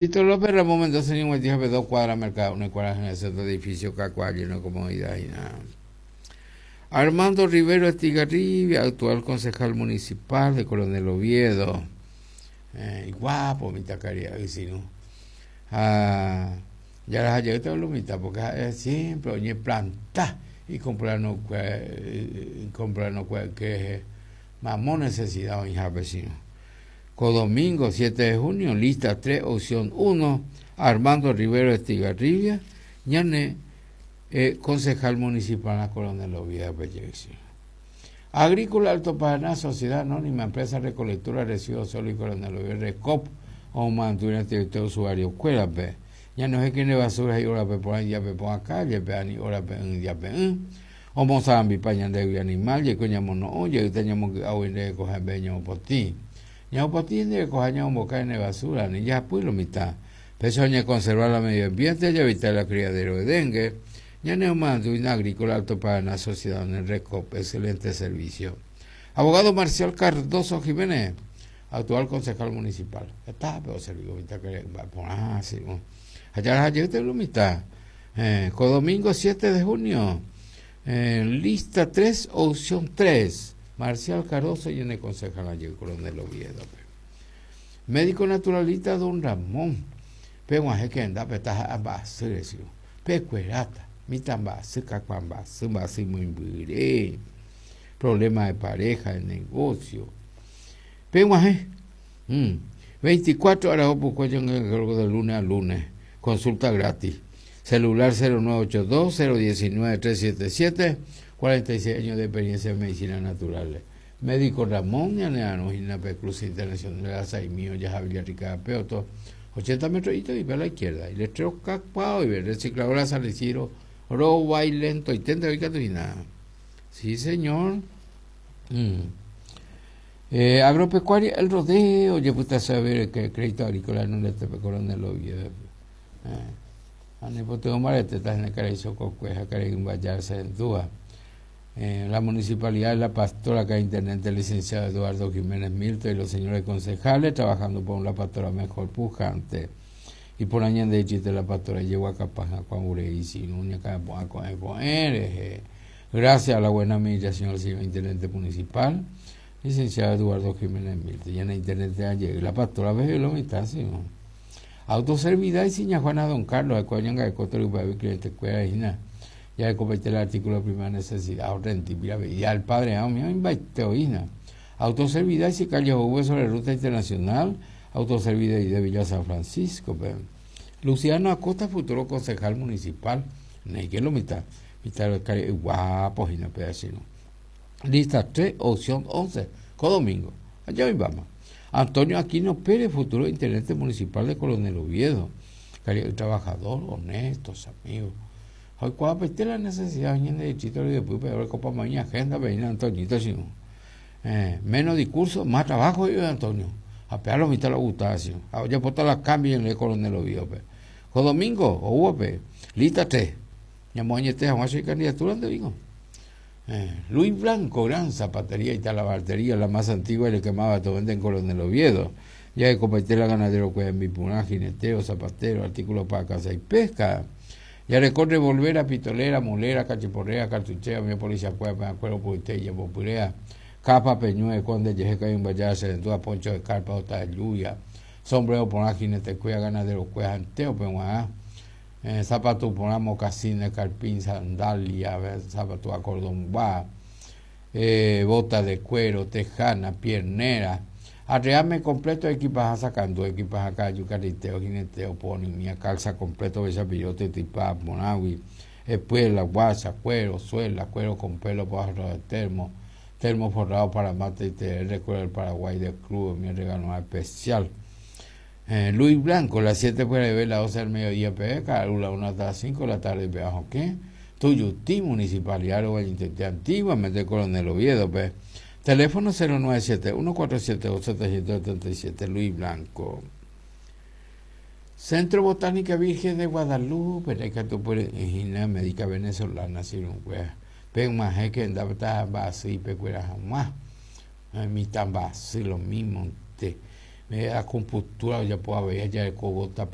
Tito López Ramón Mendoza ñeguatĩhápe dos cuadras Mercado Une kuarahy resẽta edificio kakuaa lleno de comodidad hína. Armando Rivero Estigarribia, actual concejal municipal de Coronel Oviedo. Eh, iguapo mitãkaria'y sino. Ha jaraha jeýta lo mitã porque ha'e siempre oñeplanta ikomplano ikomplano que mamo necesidad oĩhápe sino. Ko domingo, 7 de junio, lista 3, opción 1, Armando Rivero Estigarribia, ñane eh, concejal municipal Coronel Oviedo Pellevicio. Agrícola Alto Paraná, Sociedad Anónima, Empresa Recolectora Residuos Sólidos Coronel Oviedo, Recop, omomandu'ína territorio usuario kuérape. Ñanohẽkene basura he'i órape porã ijapepo calle pe ani órape ỹ ijape'ỹ. Omosarambipa ñandégui animal, jaiko ñamono'õ, jayta ñamongy'águi nde rekoha mba'e ñamopotĩ. Ñamopotĩ nde rekoha ñamomboka ne basura, ani jahapy lo mitã. Péicha oñekonserva la medio ambiente, jaevita la criadero de dengue. Ñane omoandúina Agrícola Alto Paraná Sociedad en el Recop, excelente servicio. Abogado Marcial Cardoso Jiménez, actual concejal municipal. Heta pe oservi ko mitã kare mba'e porã, sí. Ha jaraha jeýta lo mitã. Eh, ko domingo 7 de junio, eh, lista 3, opción 3, Marcial Cardoso ñane concejal jey Coronel Oviedo-pe. Médico naturalista Don Ramón, peg̃uahẽ kendápe taha'a mba'asy resiõ, pekueráta, mitã mba'asy, kakua mba'asy, mba'asy moimbyre, problema de pareja, de negocio. Peg̃uahẽ, mm, 24 ára opukue ñangareko de lunes a lunes, consulta gratis. Celular 0982 019 377, 46 años de experiencia en medicina natural. Médico Ramón ñanearõ hína pe cruce internacional Asaimi ojaha Villarrica Peoto, 80 metros y a la izquierda. Y letrero kakuaa oive, recicladora San Isidro rovái lentoiténte oĩ katu hína. Sí, señor. Mm. Eh, agropecuaria El Rodeo, ojepytase avei crédito agrícola Nordeste-pe Coronel Oviedo-pe. Eh, ha nepytyvõ mbaretéta hína karai Chokokue ha karai Mbayar Sendúa. Eh, la Municipalidad de La Pastora, acá Intendente Licenciado Eduardo Jiménez Milto y los señores concejales trabajando por una pastora mejor pujante. Y por ñande chiste La Pastora Yeguacapá, Juan Urei, Sinuña, Carapoa, Coe, Coe, Gracias a la buena administración del señor Intendente Municipal, licenciado Eduardo Jiménez Milto. Ya en Intendente ayer, La Pastora ve lo mitad, sí, ¿no? Autoservidad y Siña Juana Don Carlos, de Coñanga de Coto, y cliente cuera, y ya completé el artículo de primera necesidad, rentibila, ya el padre, ah, mío, oína. Autoservidad y calle V sobre ruta internacional, autoservidad y de Villa San Francisco. Pe. Luciano Acosta, futuro concejal municipal, que lo mitad, mitad guapo, y no pedacito. Lista 3, opción 11, co domingo. Allá hoy vamos. Antonio Aquino Pérez, futuro intendente municipal de Coronel Oviedo. Trabajador, honesto, amigo. Oikuaapete la necesidad ñande distrito ryepýpe orekopa maña agenda peína Antoñito sino eh, menos discurso, más trabajo yo Antonio. Ha pe lo mitad lo gustaba sino. Ha ojapota la cambio en el Coronel Oviedo-pe. Ko domingo oúvape lista 3. Ñamoañete hag̃ua che candidatura nde digo. Eh, Luis Blanco, gran zapatería y talabartería, la más antigua y la que más barato vende en Coronel Oviedo. Ya de copaite la ganadero cueva en Bipurá, jineteo, zapatero, artículos para caza y pesca. Ya recorre volver pitolera, mulera, cachiporrea, cartuchea, mi policía cueva, cuero, puite, purea, capa, peñue, conde, yejeca y un vaya, se poncho de carpa, ota de lluvia, sombrero por jinete, cueva, ganadero, cueva, anteo, peguá, eh, zapato por mocasines, carpín, sandalia, zapato a cordón va, eh, bota de cuero, tejana, piernera, Arreame completo equipaja sacando, equipaja cayo, carriteo, jineteo, pony, mía, calza completo, besapirote, tipa, monagui, espuela, guasa, cuero, suela, cuero con pelo, pájaro de termo, termo forrado para mate y te recuerdo el Paraguay del club, mi regalo especial. Eh, Luis Blanco, las 7 puede ver, las 12 del mediodía, pe, la 1 hasta las 5 de la tarde, pe, ¿qué? Tuyutí, Municipalidad, de antiguamente Coronel Oviedo, pe. Teléfono 097-147-777, Luis Blanco. Centro Botánica Virgen de Guadalupe, Ejina Médica Venezolana, Siruncuea. Pen maje que andaba basi, pecuera jamás. Mi tambasy lo mismo. Te. Acupuntura ojapo avei ha jareko gota.